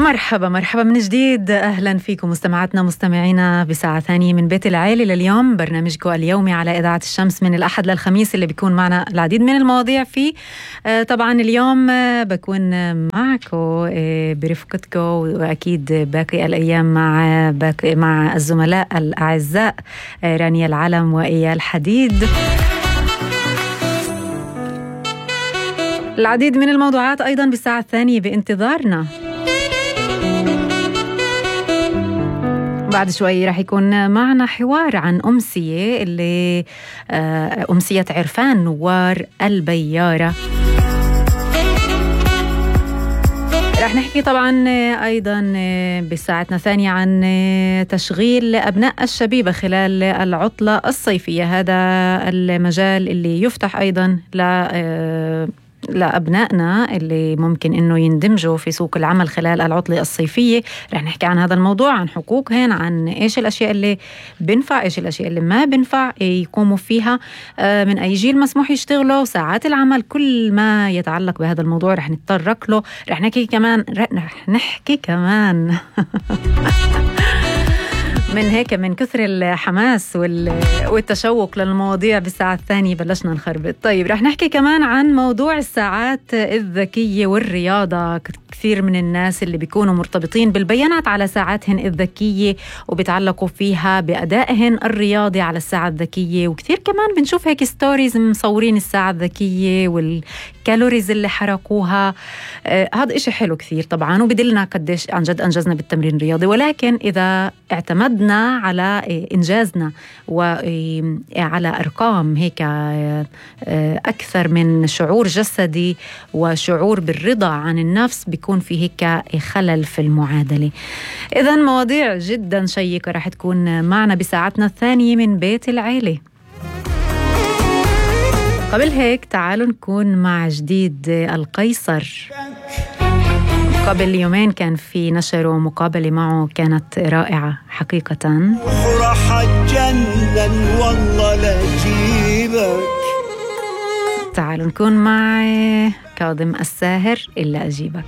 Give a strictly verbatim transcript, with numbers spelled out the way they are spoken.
مرحبا مرحبا من جديد، أهلا فيكم مستمعاتنا مستمعينا بساعة ثانية من بيت العيلة لليوم، برنامجكم اليومي على إذاعة الشمس من الأحد للخميس اللي بيكون معنا العديد من المواضيع فيه. آه طبعا اليوم آه بكون معكم آه برفقتكم، وأكيد باقي الأيام مع باقي مع الزملاء الأعزاء آه رانيا العلم وإيال حديد. العديد من الموضوعات أيضا بالساعة الثانية بانتظارنا. بعد شوي رح يكون معنا حوار عن أمسية اللي أمسية عرفان نوار البيارة. رح نحكي طبعا أيضا بساعتنا الثانية عن تشغيل أبناء الشبيبة خلال العطلة الصيفية. هذا المجال اللي يفتح أيضا ل لأبنائنا اللي ممكن إنه يندمجوا في سوق العمل خلال العطلة الصيفية. رح نحكي عن هذا الموضوع، عن حقوقهن، عن إيش الأشياء اللي بنفع، إيش الأشياء اللي ما بنفع يقوموا فيها، من أي جيل مسموح يشتغلوا، ساعات العمل، كل ما يتعلق بهذا الموضوع رح نتطرق له. رح نحكي كمان رح نحكي كمان من هيك من كثر الحماس والتشوق للمواضيع بالساعة الثانية بلشنا نخربط. طيب رح نحكي كمان عن موضوع الساعات الذكية والرياضة. كثير من الناس اللي بيكونوا مرتبطين بالبيانات على ساعاتهن الذكية وبيتعلقوا فيها بأدائهن الرياضي على الساعة الذكية، وكثير كمان بنشوف هيك ستوريز مصورين الساعة الذكية والكالوريز اللي حرقوها. آه هذا إشي حلو كثير طبعا، وبدلنا قديش عن جد أنجزنا بالتمرين الرياضي. ولكن إذا اعتمدنا على إنجازنا وعلى أرقام هيك أكثر من شعور جسدي وشعور بالرضا عن النفس، بيكون في هيك خلل في المعادلة. إذن مواضيع جدا شيقة رح تكون معنا بساعتنا الثانية من بيت العيلة. قبل هيك تعالوا نكون مع جديد القيصر. قبل يومين كان في نشر مقابلة معه، كانت رائعة حقيقة. راح اتجنن والله لا اجيبك. تعالوا نكون مع كاظم الساهر إلا أجيبك.